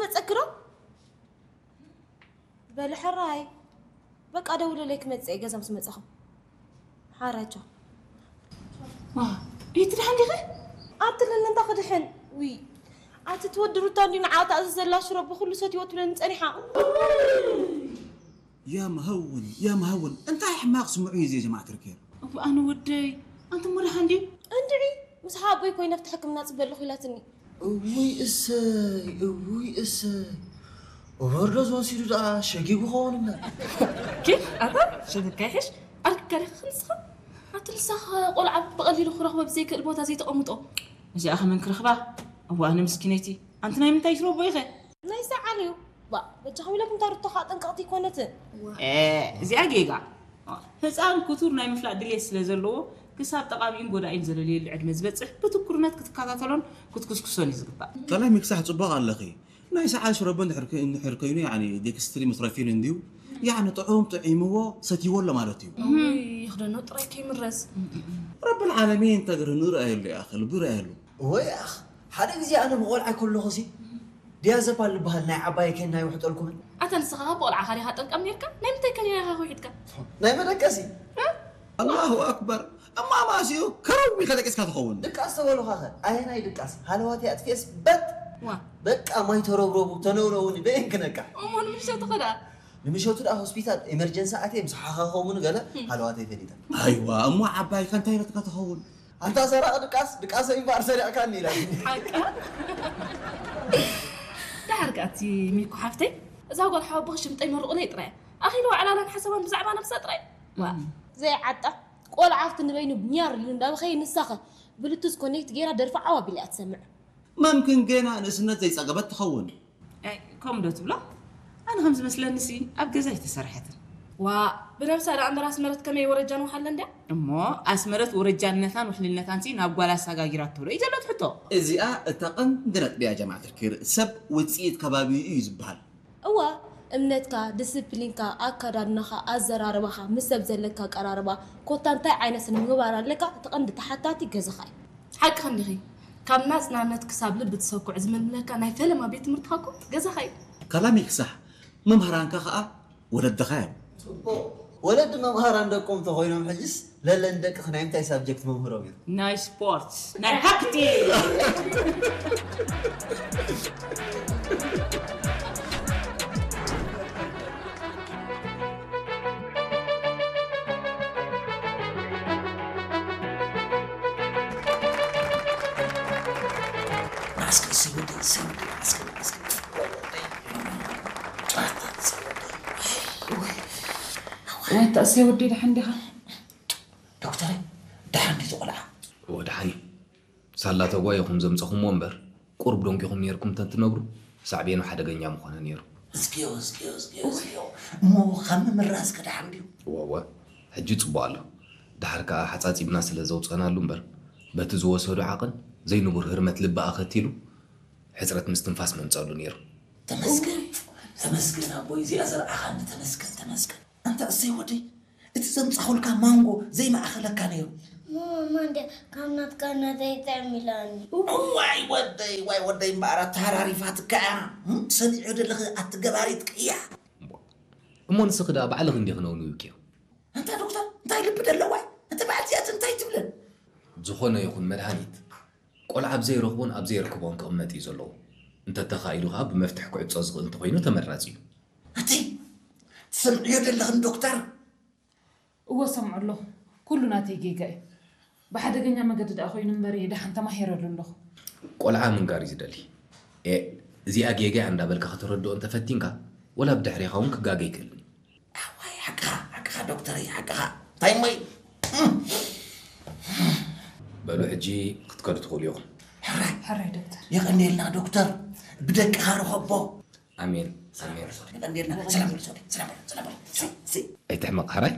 መጸክሮ በል ሕራይ። በቃ ደውለለይ ክመጽእ እየ ገዛ ምስ መጻኹ። ሓራጆ። ዋ፣ ይትድሓን ዲኺ? ኣብቲ ለለንታ ክድሕን። ውይ፣ ኣቲ ትወዲ ሩታ እንዲ ንዓ ተኣዝዘላ ሽሮ ብኹሉ ሰትይዎ ትብለኒ ጸኒሓ። يا مهون يا مهون، እንታይ ሕማቕ ስምዑ እዩ እዚ ጀማዓ ትርኬር። እዋ ኣነ ወደይ፣ ኣንተ እሞ ደሓን ድዩ? እንድዒ፣ ምስ ሓቦይ ኮይነ ኣብቲ ሕክምና ጽበ ኣለኹ ኢላትኒ። እውይ እሰይ እውይ እሰይ። ኦቨርዶዝ ወሲዱ ደኣ ሸጊጉ ኸውን እምበር። ኬፍ ኣታ ሸግካ ይሕሽ ኣርግካ ዲኻ ክንስኻ ኣቲ ንስኻ ቆልዓ ብቐሊሉ ክረኽቦ ብዘይክእል ቦታ ዘይተቐምጦ። እዚኣ ከመን ክረኽባ? እዋ ኣነ ምስኪነይቲ ኣንቲ ናይ ምንታይ ትረቦ ኢኸ? ናይ ሰዓል እዩ። ባ በጃኹም ኢለኩም እታ ሩቶ ከዓ ጠንቀቕቲ ኣይኮነትን። እዚኣ ጌጋ። ህፃን ክቱር ናይ ምፍላጥ ድሌት ስለ ዘለዎ ክሳብ ጠቓሚኡን ጎዳኢን ዘለልየሉ ዕድመ ዝበፅሕ ብትኩርነት ክትከታተሎን ክትኩስኩሶን እዩ ዝግባእ። ካልኣይ ምክሳሕ ፅቡቕ ኣለኺ። ናይ ሰዓል ሽረቦ እንድሕር ከ- እንድሕር ከይኑ ያኒ ዴክስትሪ ምትረፊን እንድዩ ያኒ ጥዑም ጥዒምዎ ሰትይዎ ኣሎ ማለት እዩ። ይኽደኖ ጥራይ ከይምረዝ። ረብል ዓለሚን ተግርህኑ ርኣየሉ ያኸ ልቡ ርኣየሉ። ወይ ኣኽ ሓደ ግዜ ኣነ ብቆልዓ ከለኹ ሲ ዲያዘፓል ዝበሃል ናይ ዓባይ ኬና ይውሕጠልኩምን ኣታ ንስኻ ካብ ቆልዓኻ ዲኻ ጠልቃም ኔርካ ናይ ምንታይ ከኒና ኢኻ ከውሒድካ ናይ መደቀሲ ኣላሁ ኣክበር እማ ማእሲኡ ከረው ኢልካ ደቂስካ ትኸውን ድቃስ ተበሉኻኸ ኣየናይ ድቃስ ሃለዋተይ ኣጥፊኤስ በጥ ዋ በቃ ማይ ተረብረቡ ተነውረውኒ በየን ክነቃ እሞ ንምሸቱ ኸዳ ንምሸቱ ደኣ ሆስፒታል ኤመርጀንሲ ኣትየ ምስ ሓኻኸውኒ ገለ ሃለዋተይ ፈሊጠ ኣይዋ እሞ ዓባይካ እንታይ ኢለትካ ትኸውን ኣንታ ሰራቂ ድቃስ ድቃሰይ እምበኣር ሰሪቕካኒ ኢላ ሓቃ ደሓር ከኣ እቲ ሚኩ ሓፍተይ እዛ ጓል ሓወቦኺ ሽምጠይ መርቑለይ ጥራይ ኣኺሉ ዕላላን ሓሳባን ብዛዕባ ነብሳ ጥራይ ዋ ዘይዓጣ ቆልዓ ኣብቲ ንበይኑ ኛር ኢሉ እንዳበኸየ ንሳኸ ብሉቱዝ ኮኔክት ገይራ ደርፊ ዓው ኣቢላ እያ ትሰምዕ መምክን ገና ንእስነት ዘይጸገበት ትኸውን ከምኡ ዶ ትብሎ? ኣነ ከም ዝመስለኒ ሲ ኣብ ገዛ ኣይተሰርሐትን። ዋእ ብነብሳ ደኣ እምበር ኣስመረት ከመይ ወረጃን ወሓለን ድያ? እሞ ኣስመረት ወረጃነታን ውሕልነታን ሲ ናብ ጓላ ኣሳጋጊራቶ ዶ እዩ ዘሎ እቲ ሕቶ? እዚኣ እታ ቀንዲ ነጥቢ እያ ጀማዓ ትርኪር ሰብ ውጽኢት ከባቢኡ እዩ ዝበሃል። እዋ እምነትካ፣ ድስፕሊንካ፣ ኣካዳድናኻ፣ ኣዘራርባኻ፣ ምስ ሰብ ዘለካ ኣቀራርባ፣ ኮታ እንታይ ዓይነት ስነ ምግባር ኣለካ እቲ ቀንዲ ተሓታቲ ገዛኻ እዩ። ሓቅኺ እንዲኺ። ካብ ናጽናነት ክሳብ ልቢ ትሰኩዕ ዝምልምለካ ናይ ፈለማ ቤት ትምህርትኻ እኮ ገዛኻ እዩ። ካላሚክ ሳሕ መምሃራንካ ኸኣ ወለድኻ እዮም። ጽቡቕ። ወለዲ መምሃራን ደቆም ተኾይኖም ሕጅስ ለለን ደቅኺ ናይ ምንታይ ሳብጀክት መምህሮም እዮም? ናይ ስፖርት ናይ ሃክቲ ማስክ እሰይ ወደይ እሰይ ወደይ ማስክ ማስክ ወታ እሰይ ወደይ ደሓን ዲኻ? ዶክተር ደሓን ድዩ ቆልዓ? እወ ደሓን እዩ። ሳላ ተጓይኹም ዘምፀኹምዎ እምበር ቁሩብ ደንጊኹም ነይርኩም ተትነብሩ ሳዕቤኑ ሓደገኛ ምኾነ ነይሩ። እዝግዮ እዝግዮ እዝግዮ እዝግዮ እሞ ካብ ምምራዝ ከ ደሓን ድዩ? እወ እወ ሕጂ ፅቡቕ ኣሎ። ደሓር ከዓ ሓፃፂብና ስለ ዘውፀእናሉ እምበር በቲ ዝወሰዶ ዓቕን ዘይንቡር ህርመት ልቢ ኣኸቲሉ ሕፅረት ምስትንፋስ መምፀሉ ነይሩ። ተመስገን ተመስገን ኣቦይ እዚኣ ዘርኣኻኒ ተመስገን ተመስገን። ኣንታ እሰይ ወደይ እቲ ዘምጻኹልካ ማንጎ ዘይመኣኸለካ ነይሩ። ማማ እንደ ካብ ናትካ ናተይ ጥዕም ኢላኒ። ዋይ ወደይ ዋይ ወደይ እምበኣር ኣተሃራሪፋትካ እያ። እም፣ ሰሚዐ ደለኺ ኣቲ ገባሪት ቅያ። እሞ ንስኺ ደኣ ባዕልኺ እንዲኺ ነውንውኪዮ። ኣንታ ዶክተር እንታይ ልቢ ደለዋ እያ። እታ በዓልቲ እያ እንታይ ትብለን። ዝኾነ ይኹን መድሃኒት ቆልዓ ኣብ ዘይረኽቦን ኣብ ዘየርክቦን ክቕመጥ እዩ ዘለዎ። እንተተኻኢሉ ኸኣ ብመፍትሕ ክዕጾ ዝኽእል እንተኾይኑ ተመራጺ እዩ። ኣቲ ትሰምዕዮ ደለኽን ዶክተር? እወ እሰምዖ ኣለኹ። ኩሉ ናተይ ጌጋ እዩ። ብሓደገኛ መገዲ ደኣ ኮይኑ እምበር እየ ደሓን ተማሂረሉ ኣለኹ። ቆልዓ ምንጋር እዩ ዝደሊ። ኤእ እዚኣ ጌጋ እያ እንዳበልካ ከተረድኦ እንተፈቲንካ ወላ ብድሕሬኻ እውን ክጋገ ይክእልን እዩ። ኣዋይ ሓቅኻ ሓቅኻ ዶክተረይ ሓቅኻ እንታይ እሞ እዩ? በሉ ሕጂ ክትከዱ ትኽእሉ ኢኹም። ሕራይ ሕራይ ዶክተር። የቐንየልና ዶክተር ብደቅኻ ርኸቦ። ኣሜን ኣሜን። የቐንየልና ሰላም በሉ ሰላም በሉ ሰላም በሉ። ኣይትሕመቕ ሕራይ።